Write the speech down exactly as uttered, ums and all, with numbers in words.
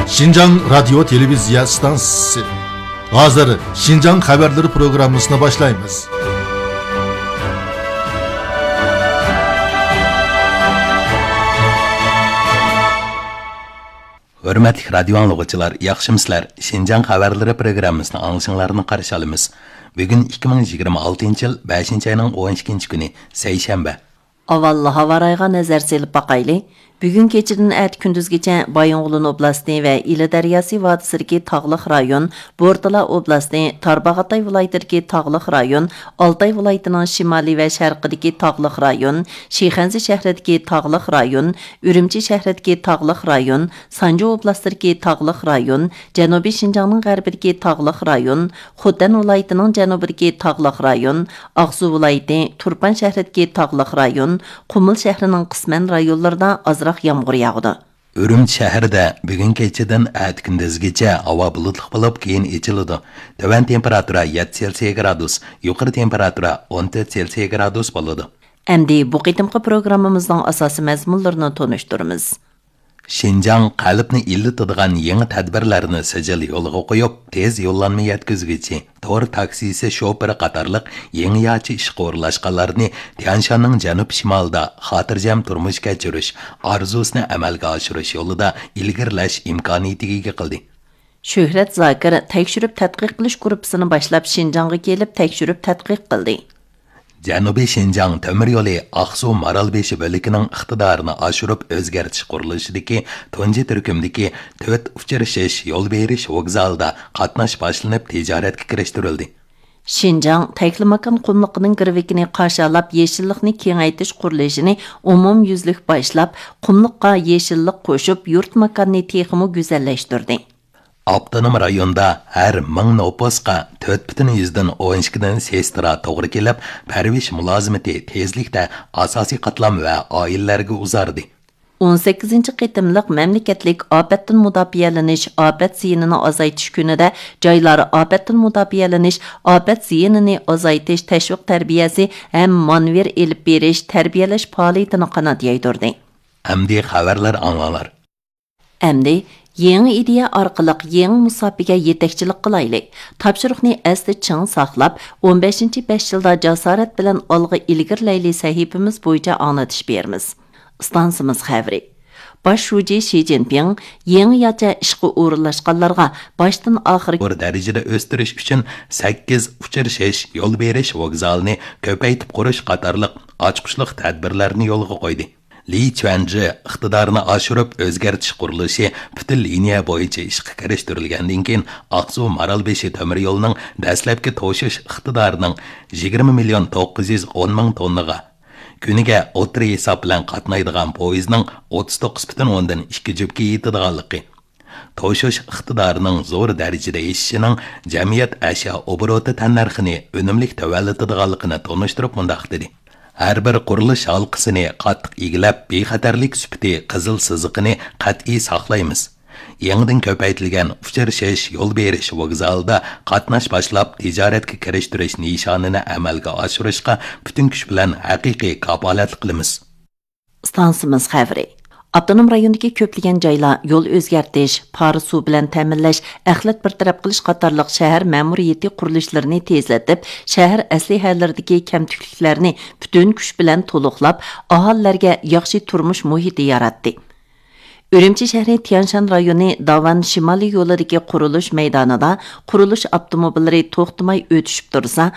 شىنجاڭ رادىيو تېلېۋىزىيە ئىستانسىسى. ھازىر شىنجاڭ خەۋەرلىرى پروگراممىسىنى باشلايمىز. ھۆرمەتلىك رادىيو ئاڭلىغۇچىلار، ياخشىمۇسىلەر؟ شىنجاڭ خەۋەرلىرى پروگراممىسىنى ئاڭلىشىڭلارنى قارشى ئالىمىز. بۈگۈن ئىككى مىڭ يىگىرمە ئالتىنچى يىل بەشىنچى ئاينىڭ ئون ئىككىنچى كۈنى، سەيشەنبە. ئاۋۋال ھاۋا رايىغا نەزەر سېلىپ باقايلى. بۈگۈن كېچىدىن ئەتە كۈندۈزگىچە بايىنغولىن ئوبلاستى ۋە ئىلى دەرياسى ۋادىسىدىكى تاغلىق رايون، بورتالا ئوبلاستى، تارباغاتاي ۋىلايىتىدىكى تاغلىق رايون، ئالتاي ۋىلايىتىنىڭ شىمالىي ۋە شەرقىدىكى تاغلىق رايون، شىخەنزە شەھىرىدىكى تاغلىق رايون، ئۈرۈمچى شەھىرىدىكى تاغلىق رايون، سانجى ئوبلاستىدىكى تاغلىق رايون، جەنۇبىي شىنجاڭنىڭ غەربىدىكى تاغلىق رايون، خوتەن ۋىلايىتىنىڭ جەنۇبىدىكى تاغلىق رايون، ئاقسۇ ۋىلايىتى، تۇرپان شەھىرىدىكى تاغلىق رايون، قۇمۇل شەھىرىنىڭ قىسمەن رايونلىرىدا ئازراق يامغۇر ياغىدۇ. ئۈرۈمچى شەھىرىدە بۈگۈن كېچىدىن ئەتە كۈندۈزگىچە ھاۋا بۇلۇتلۇق بولۇپ، كېيىن ئېچىلىدۇ. تۆۋەن تېمپېراتۇرا يەتتە سېلسىيە گرادۇس، يۇقىرى تېمپېراتۇرا ئون تۆت سېلسىيە گرادۇس بولىدۇ. ئەمدى بۇ قېتىمقى پروگراممىمىزنىڭ ئاساسىي مەزمۇنلىرىنى تونۇشتۇرىمىز. شىنجاڭ قەلبنى ئىللىتىدىغان يېڭى تەدبىرلەرنى سىجىل يولغا قويۇپ، تېز يوللانما يەتكۈزگۈچى، تور تاكسىسى شوپۇرى قاتارلىق يېڭىچە ئىشقا ئورۇنلاشقانلارنى تيەنشاننىڭ جەنۇب شىمالىدا خاتىرجەم تۇرمۇش كەچۈرۈش ئارزۇسىنى ئەمەلگە ئاشۇرۇش يولىدا ئىلگىرىلەش ئىمكانىيىتىگە ئىگە قىلدى. شۆھرەت زاكىر تەكشۈرۈپ تەتقىق قىلىش گۇرۇپپىسىنى باشلاپ، شىنجاڭغا كېلىپ تەكشۈرۈپ تەتقىق قىلدى. جەنۇبىي شىنجاڭ تۆمۈر يولى ئاقسۇ مارالبېشى بۆلىكىنىڭ ئىقتىدارىنى ئاشۇرۇپ ئۆزگەرتىش قۇرۇلۇشىدىكى تۇنجى تۈركۈمدىكى تۆت ئۇچرىشىش يول بېرىش ۋوگزالىدا قاتناش باشلىنىپ تىجارەتكە كىرىشتۈرۈلدى. شىنجاڭ تەكلىماكان قۇملۇقىنىڭ گىرۋىكىنى قاشالاپ، يېشىللىقنى كېڭەيتىش قۇرۇلۇشىنى ئومۇميۈزلۈك باشلاپ، قۇملۇققا يېشىللىق قوشۇپ، يۇرت ماكاننى تېخىمۇ گۈزەللەشتۈردى. ئاپتونوم رايوندا ھەر مىڭ نوپۇسقا تۆت پۈتۈن يۈزدىن ئون ئىككىدىن سېسترا توغرا كېلىپ، پەرۋىش مۇلازىمىتى تېزلىكتە ئاساسىي قاتلام ۋە ئائىلىلەرگە ئۇزاردى. ئون سەككىزىنچى قېتىملىق مەملىكەتلىك ئاپەتتىن مۇداپىئەلىنىش، ئاپەت زىيىنىنى ئازايتىش كۈنىدە جايلار ئاپەتتىن مۇداپىئەلىنىش، ئاپەت زىيىنىنى ئازايتىش تەشۋىق تەربىيەسى ھەم مانېۋىر ئېلىپ بېرىش، تەربىيەلەش پائالىيىتىنى قانات يايدۇردى. ئەمدى خەۋەرلەر ئاڭلاڭلار. ئەمدى يېڭى ئىدىيە ئارقىلىق يېڭى مۇساپىگە يېتەكچىلىك قىلايلى. تاپشۇرۇقنى ئەستە چىڭ ساقلاپ، ئون بەشىنچى بەش يىلدا جاسارەت بىلەن ئالغا ئىلگىرىلەيلى سەھىپىمىز بويىچە ئاڭلىتىش بېرىمىز. ئىستانسىمىز خەۋىرى. باش شۇجى شى جىنپىڭ يېڭىچە ئىشقا ئورۇنلاشقانلارغا باشتىن ئاخىر زور دەرىجىدە ئۆستۈرۈش ئۈچۈن سەككىز ئۇچرىشىش، يول بېرىش ۋوگزالىنى كۆپەيتىپ قۇرۇش قاتارلىق ئاچقۇچلۇق تەدبىرلەرنى يولغا قويدى. لى چۈەنجى ئىقتىدارنى ئاشۇرۇپ ئۆزگەرتىش قۇرۇلۇشى پۈتۈن لىنىيە بويىچە ئىشقا كىرىشتۈرۈلگەندىن كېيىن، ئاقسۇ مارالبېشى تۆمۈر يولىنىڭ دەسلەپكى توشۇش ئىقتىدارىنىڭ يىگىرمە مىليون توققۇز يۈز ئون مىڭ توننىغا، كۈنىگە ئوتتۇرا ھېساب بىلەن قاتنايدىغان پويىزنىڭ ئوتتۇز توققۇز پۈتۈن ئوندىن ئىككى جۈپكە يېتىدىغانلىقى، توشۇش ئىقتىدارىنىڭ زور دەرىجىدە ئېشىشىنىڭ جەمئىيەت ئەشيا ئوبوروتى تەننەرخىنى ئۈنۈملۈك تۆۋەنلىتىدىغانلىقىنى تونۇشتۇرۇپ مۇنداق دېدى: ھەر بىر قۇرۇلۇش ھالقىسىنى قاتتىق ئىگىلەپ، بىخەتەرلىك سۈپىتى قىزىل سىزىقىنى قەتئىي ساقلايمىز. يېڭىدىن كۆپەيتىلگەن ئۇچرىشىش يول بېرىش ۋوگزالىدا قاتناش باشلاپ، تىجارەتكە كىرىشتۈرۈش نىشانىنى ئەمەلگە ئاشۇرۇشقا پۈتۈن كۈچ بىلەن ھەقىقىي كاپالەتلىك قىلىمىز. ئىستانسىمىز خەۋىرى. ئاپتونوم رايوندىكى كۆپلىگەن جايلار يول ئۆزگەرتىش، پارە سۇ بىلەن تەمىنلەش، ئەخلەت بىر تەرەپ قىلىش قاتارلىق شەھەر مەمۇرىيىتى قۇرۇلۇشلىرىنى تېزلىتىپ، شەھەر ئەسلىھەلىرىدىكى كەمتۈكلۈكلەرنى پۈتۈن كۈچ بىلەن تولۇقلاپ، ئاھالىلەرگە ياخشى تۇرمۇش مۇھىتى ياراتتى. ئۈرۈمچى شەھىرى تيەنشان رايونى داۋان شىمالىي يولىدىكى قۇرۇلۇش مەيدانىدا قۇرۇلۇش ئاپتوموبىللىرى توختىماي ئۆتۈشۈپ تۇرسا،